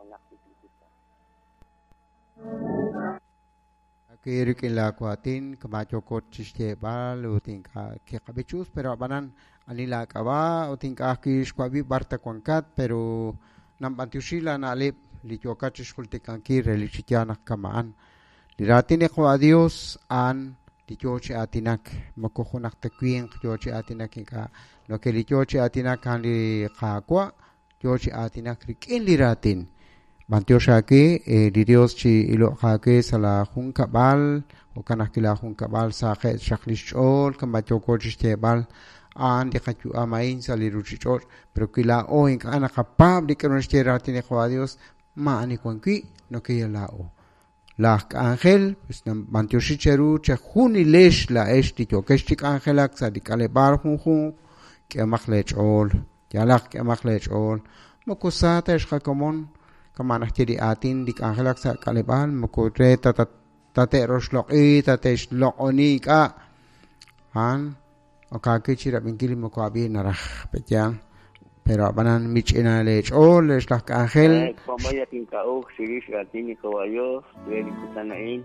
Junaq chik li kutan. Aawe rik'in laa waatin kama' yooko chixyeeb'al ut ink'a' kiqab'i chi us, pero a'b'anan ani laa k'ab'a' ut ink'a' ajwi' xwab'i b'ar ta wankat, pero nanb'antioxi laa na'leb' li yookat chixjultikankil relik chi yaal naq kama'an. Li raatin li Qawa' Dios a'an li yoo chi aatinak, moko junaq ta winq yoo chi aatinak ink'a', no ke li yoo chi aatinak a'an li Qaawa' yoo chi aatinak rik'in li raatin. B'antiox aawe, li Dios chi iloq aawe sa' laa junkab'al, jo'kan ajwi' laa junkab'al saqe' xaq lix ch'ool, kama' yooko chixyeeb'al, a'an li qayu'am a'in sa' li ruchich'och', pero wi laa'o ink'a' naqapaab' li k'a'ru naxye raatin li Qawa' Dios, maa'ani wan wi', nokeyal laa'o. Laj k'anjel, pues b'antioxi cheru chejunilex laa'ex li yookex chi k'anjelak sa' li k'aleb'aal junjunq, k'ehomaq lee ch'ool, yalaq k'ehomaq lee ch'ool. Moko sa ta ex qakomon, kama' naxye li aatin li k'anjelak sa' k'aleb'aal, moko re ta tate'roxloq'i, tate'xloq'oni ink'a'. A'an ok aawe chi rab'inkil li moko ab'i naraj, pe'yaal. Pero a'b'anan mich'ina lee ch'ool ex laj k'anjel. Pabaya tink'a'uj chirix raatin li Qawa' Dios re li kutan a'in.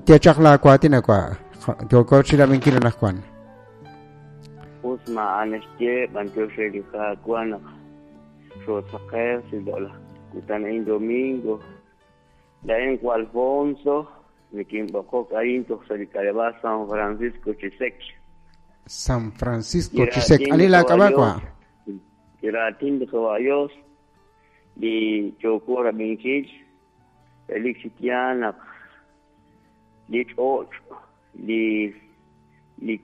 Ye chaq laa waatin awa'. Yooko chi rab'inkil anaqwan. Us maa'an naxye b'antiox re li Qaawa' naq xoosaqew sa' li loq'laj kutan a'in domingo. Laa'in wa Alfonso nikinb'oqok arin toj sa' li k'aleb'aal San Francisco Chisec. San Francisco Chisec. Ani laa k'ab'a' wa'? Li raatin li Qawa' Dios li yooko rab'inkil relik chi yaal naq li ch'och' li li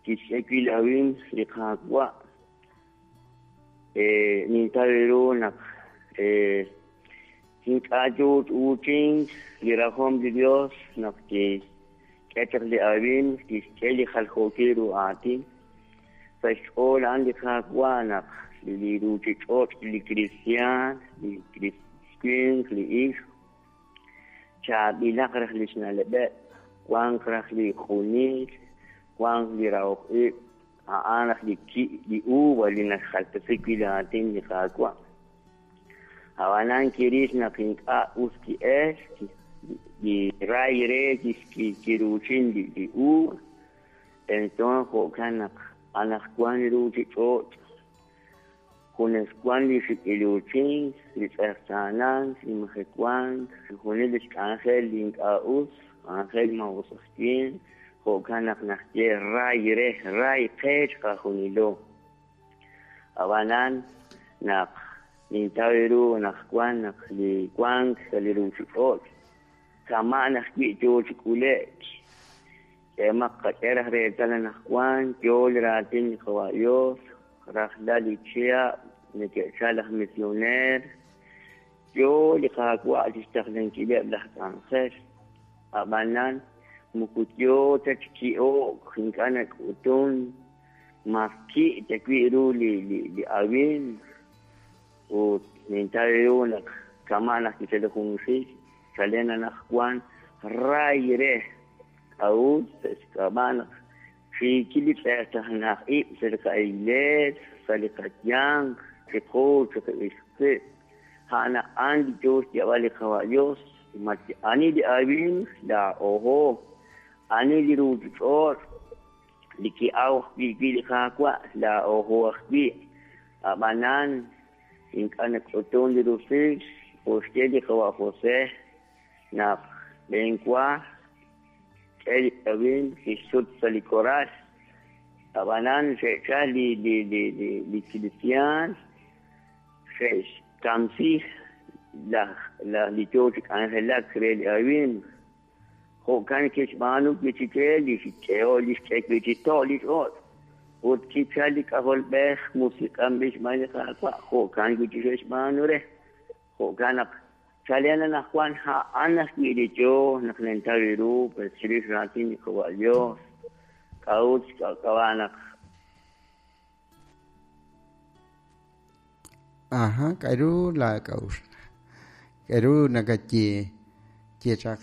kixk'e wi' li awimq li Qaawa' nintaw ru naq ink'a' yoo chi uuchink li rajom li Dios naq kixk'e chaq li awimq, kixk'e li jaljookil ru aatin. Sa' xch'ool a'an li Qaawa' naq li ruchich'och', li kristiaan, li winq, li ixq, chaab'ilaq raj lix na'leb'eb', wanq raj li q'unil, wanq li rahok ib', a'an raj li ki' li uva li naxjaltesi wi' li aatin li Qaawa'. Ab'anan kiril naq ink'a' us ki'el, li ray re kiruuchin li uva, enton jo'kan naq anaqwan li ruuchich'och' junes wan li xik'iluuchink, li tz'eqtaanank, li majewank, chixjunil li xk'anjel li ink'a' us, k'anjel maa'us aj winq, jo'kan naq naxye ray re, ray qe chiqajunilo. Ab'anan naq nintaw ru anaqwan naq li wank sa' li ruuchich'och' kama' ajwi' yoo chi k'ule'k, k'ehomaq qak'e raj reetal anaqwan yoo li raatin li Qawa' Dios, rajlal li chihab' neke'chal laj misioneer, yoo li Qaawa' chixtaqlankileb' laj k'anjel. Ab'anan moko yoo ta chi ki'o'k, ink'a' nak'utun mas ki' ta wi' ru li li awimq ut nintaw ru naq kama' naq kichal junxil chalen anaqwan ray re k'a'ut sa' xk'ab'a' naq xiikil li tz'eqtaanaj ib' sa' li qa'iglees, sa' li qayanq, chiqu chiqib'il qib'. A'an a'an li yoo xyeeb'al li Qawa' Dios, ani li awimq laa'oho, ani li ruuchich'och' li ki'aw wi' wi' li Qaawa' laa'oho ajwi'. Ab'anan ink'a' nak'utun li rusil oxye li Qawa' José naq b'enwa k'e li awimq kixsut sa' li koral. Ab'anan xe'chal li li li li li kristiaan xe'xkamsi laj laj li yoo chi k'anjelak re li awimq. Jo'kan kixb'aanu wi' chik re li xk'eho li xk'e wi' chi to' li ch'och'. Ut kichal li K'ajolb'ej musiq'anb'il xb'aan li Qaawa', jo'kan wi' chik xe'xb'aanu re. Jo'kan naq chalen anaqwan a'an ajwi' li yoo naq nintaw ru pues chirix raatin li Qawa' Dios. K'a'ut xk'ab'a' naq Aha, k'a'ru laa k'a'uxl? K'a'ru nakaye ye chaq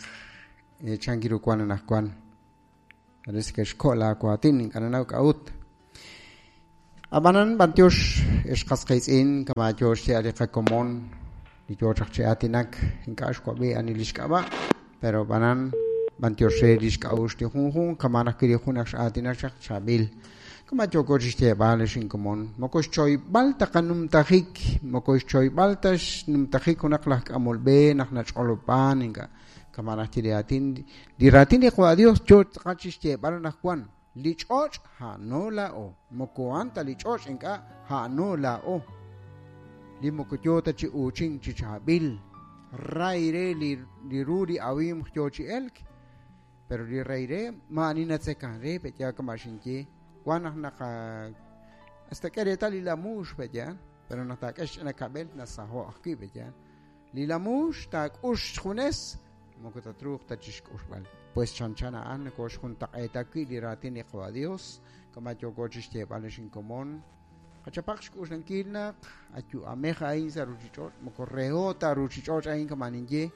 chan ru wan anaqwan? Parece que xko' laa waatin, ink'a' nanaw k'a'ut. Ab'anan b'antiox ex qas qiitz'in kama yo xye li qakomon li yo chaq chi aatinak ink'a' xwab'i ani li xk'ab'a' pero ab'anan b'antiox re li xk'a'uxl li junjunq kama naq wi li jun ak x'aatinak chaq chaab'il kama yooko chi xyeeb'al ex inkomon moko xchoyb'al ta qanumtajik moko xchoyb'al ta xnumtajik junaq laj k'amol b'e naq nach'olob'an ink'a' kama naq li raatin li raatin li Qawa' Dios yo tz'aqal chi xyeeb'al anaqwan li ch'och' ha'no laa'o moko a'an ta li ch'och' ink'a' ha'no laa'o li moko yo ta chi uuchink chi chaab'il ray re li ru li awimq yo chi elk pero li ray re ma'ani natzekan re pe'ya kama xinye wan naq naqa hasta k'e reetal li lamuux pe'ya pero naq taak'e xch'ina kab'el nasaho' ajwi' pe'ya li lamuux taak'ux xjunes moko tatruuq ta chixk'uxb'al pues chanchan a'an nokoxjuntaq'eeta wi' li raatin li Qawa' Dios kama yooko chixyeeb'al ex inkomon qachapaq xk'uxlankil naq ayu'amej a'in sa' ruchich'och' moko reho ta ruchich'och' a'in kama ninye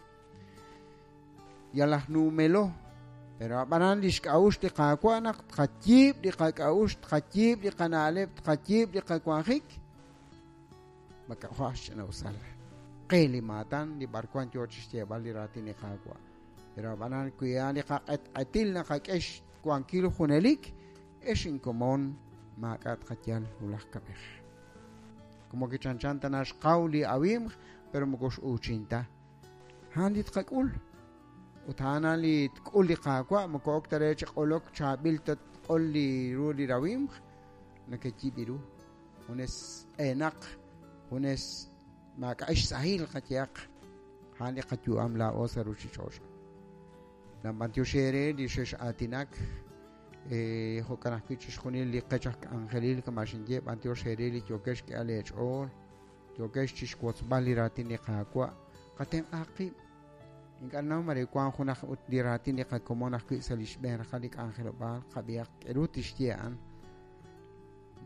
yal aj nuumelo pero ab'anan li xk'a'uxl li Qaawa' naq tqayiib' li qak'a'uxl tqayiib' li qana'leb' tqayiib' li qawanjik maka'jo' xch'ina'usal qe li maatan li b'arwan yo chixyeeb'al li raatin li Qaawa' pero ab'anan wi a'an li qaq'etq'etil naqak'e xwankil junelik ex inkomon maak'a' tqayal wulaj kab'ej como que chanchan tana xqaw li awimq pero moko x'uuchin ta a'an li tqak'ul ut a'an li tk'ul li Qaawa' moko ok ta re chi q'olok chaab'il ta tq'ol li ru li rawimq nakeyib' ru junes q'eenaq junes maak'a' xsahil qayehaq a'an li qayu'am laa'o sa' ruchich'och' nab'antiox eere li xex'aatinak jo'kan ajwi' chixjunil li qech aj k'anjelil kama xinye b'antiox eere li yookex xk'ehal eech'ool yookex chixwotzb'al li raatin li Qaawa' qatenq'aq qib' ink'a' naw mare wank junaq ut li raatin li qakomon ajwi' sa' li xb'een raqal li k'anjelob'aal qab'ihaq k'eru tixye a'an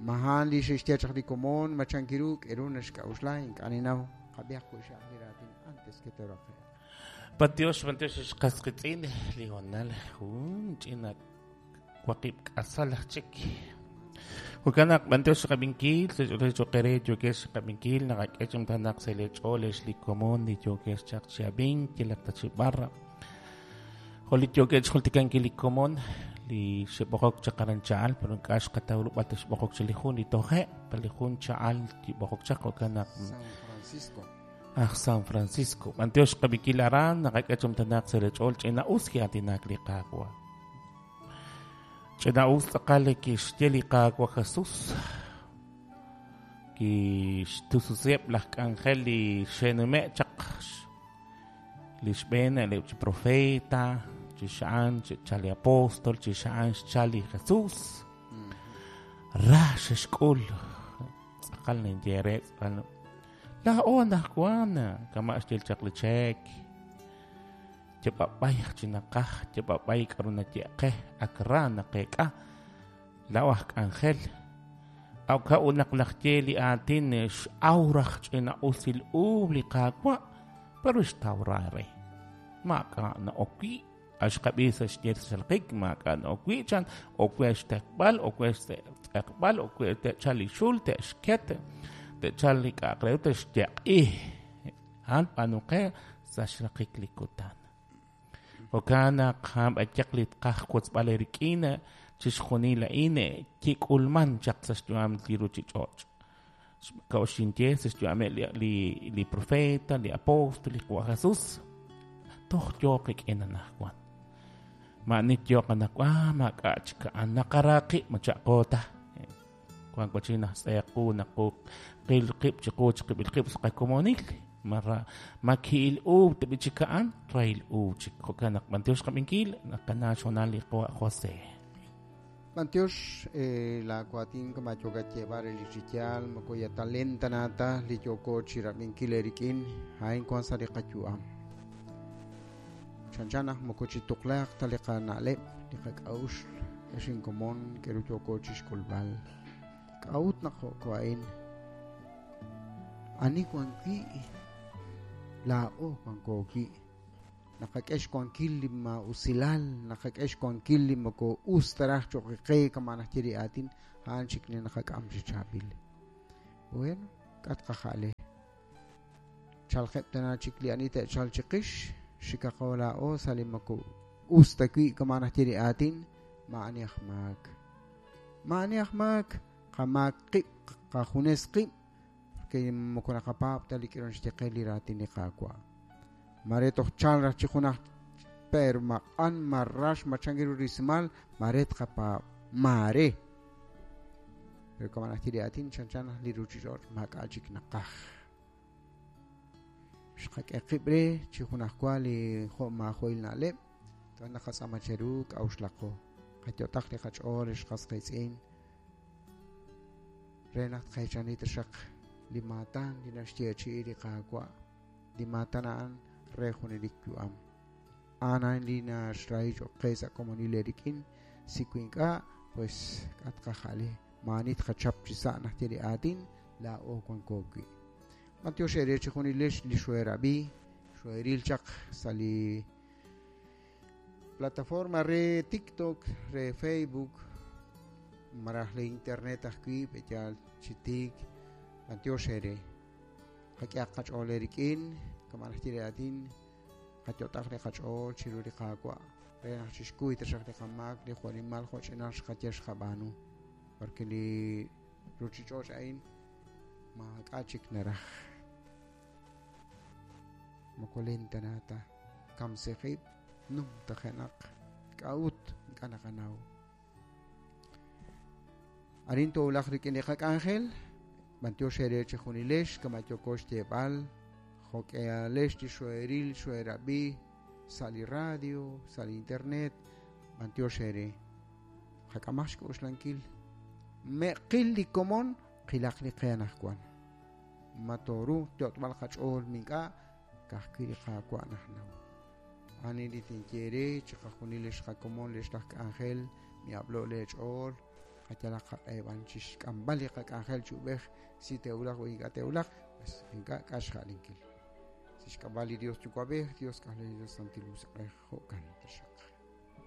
mahan li xexye chaq li komon machankiru k'eru naxk'a'uxla ink'a' ninaw qab'ihaq wi' xaq li raatin antes que toraqe'q B'antiox b'antiox ex qas qiitz'in li honal jun ch'ina waqib' k'asal aj chik jo'kan naq b'antiox xqab'inkil choqere yookex xqab'inkil naqak'e chimtanaq sa' li ch'ool ex li komon li yookex chaq chi ab'ink yalaq ta chi b'ar jo' li yookex xjultikankil li komon li xeb'oqok chaq aran cha'al pero ink'a' xqataw rub'al ta xb'oqok chi li jun li toje' pa li jun cha'al kib'oqok chaq jo'kan naq San Francisco aj San Francisco b'antiox xqab'inkil aran naqak'e chimtanaq sa' li ch'ool ch'ina'us ki'aatinak li Qaawa' ch'ina'us tz'aqal kixye li Qaawa' Jesus kixtususeb' laj k'anjel li xenume' chaq li xb'een li chi profeta chi xa'an xchal li apóstol chi xa'an xchal li Jesus ra xexk'ul tz'aqal ninye re tz'aqal laa'o anaqwan kama' xyel chaq li cheek yab'ab'ay chi naqaj yab'ab'ay k'aru naye'qe ak ra naqeek'a laa'o aj k'anjel awka ut naq laj ye li aatin x'awraj ch'ina'usil uub li Qaawa' pero xtaw ra re maak'a' na'ok wi' axqab'i sa' xye xalqik maak'a' na'ok wi' chan okwe xteqb'al okwe xtz'eqb'al okwe te'chal li xul te'xket te'chal li k'a'aq re te'xyeq'i a'an b'aanuqe sa' xraqik li kutan jo'kan naq a'an b'ayaq li tqaj wotzb'al eerik'in chixjunil a'in kik'ulman chaq sa' xyu'am li ruchich'och' ka'oxinye sa' xyu'ameb' li profeta li apóstol li Qawa' Jesus toj yoo qik'in anaqwan ma'ani yooq anaqwan maak'a' chik a'an naqara qib' macha'qo ta wan wachin naj tz'equ naqu qil qib' chiqu chiqib'il qib' sa' qakomonil mara maki'il uub tib'i chik a'an rahil uub chik jo'kan naq b'antiox qab'inkil naqana xonal li Qawa' José B'antiox la waatin kama yookat yeeb'al re li chiyaal moko ya talenta nata li yooko chirab'inkil eerik'in a'in wan sa' li qayu'am chanchan naq moko chituqlaaq ta li qana'leb' li qak'a'uxl ex inkomon k'eru yooko chixk'ulb'al k'a'ut naq jo'ko a'in ani wan wi' laa'o wanko wi' Naqak'e xwankil li maa'usilal, naqak'e xwankil li moko us ta raj cho'q qe kama' najye li aatin, a'an chik li naqak'am chi chaab'il. Bueno, k'a' tqaja'le. Chalqeb' tana chik li ani te'chalq chiqix, xikaqo laa'o sa' li moko us ta wi' kama' najye li aatin, maa'ani aj maak. Maa'ani aj maak, qamaak qib', qajunes qib', porque moko naqapaab' ta li k'irun xye qe li raatin li Qaawa'. Mare toj chal raj chi junaj pero ma q'an, ma rax, ma chank ru rismal, mare tqapaab', mare. Pero kama' najye li aatin chanchan li ruuchich'och' maak'a' chik naqaj. Xqak'e qib' re chi junajwa li jo' maajo'il na'leb', toja' naqatz'aama cheru k'a'uxlaqo. Qayot'aq li qach'ool ex qas qiitz'in re naq tqeechani taxaq li maatan li naxyeechi'i li Qaawa', li maatan a'an re junelik yu'am. A'an a'in li naxrahi cho'q qe sa' komonil eerik'in, si wi ink'a', pues k'a' tqaja'le, maa'ani tqachap chi sa' najye li aatin, laa'o wanko wi'. B'antiox eere chijunilex li xoerab'i, xoeril chaq sa' li plataforma re TikTok, re Facebook, malaj li internet ajwi' b'eyaal chi tiik. B'antiox eere. Qak'ehaq qach'ool eerik'in, kama' najye li aatin, qayot'aq li qach'ool chiru li Qaawa' re naq chixkuy taxaq li qamaak li jo'nimal jo'ch'inal xqaye xqab'aanu. Porque li ruuchich'och' a'in maak'a' chik naraj. Moko len ta na ta kamsi qib' numtajenaq k'a'ut ink'a' naqanaw. Arin toowulaq rik'in li qak'anjel, b'antiox eere chijunilex kama' yooko xyeeb'al, jo'k'ehalex li xoeril xoerab'i sa' li radio, sa' li internet, b'antiox eere. Qak'amaq xk'oxlankil. Me'qil li komon, qilaq li qe anaqwan. Ma tooruuq yot'b'al qach'ool mink'a', ka'ajwi' li Qaawa' najnaw. Ani li tinye eere chiqajunil lix qakomon lix laj k'anjel, mi'ab'lo' leech'ool, qayalaq qaq'eeb'an chixk'amb'al li qak'anjel chi ub'ej, si te'wulaq o ink'a' te'wulaq, pues ink'a' k'a' xja'linkil. Si xk'amb'al li Dios Yuwa'b'ej, Dios K'ajolej, Dios Santil Musiq'ej, jo'kan taxaq.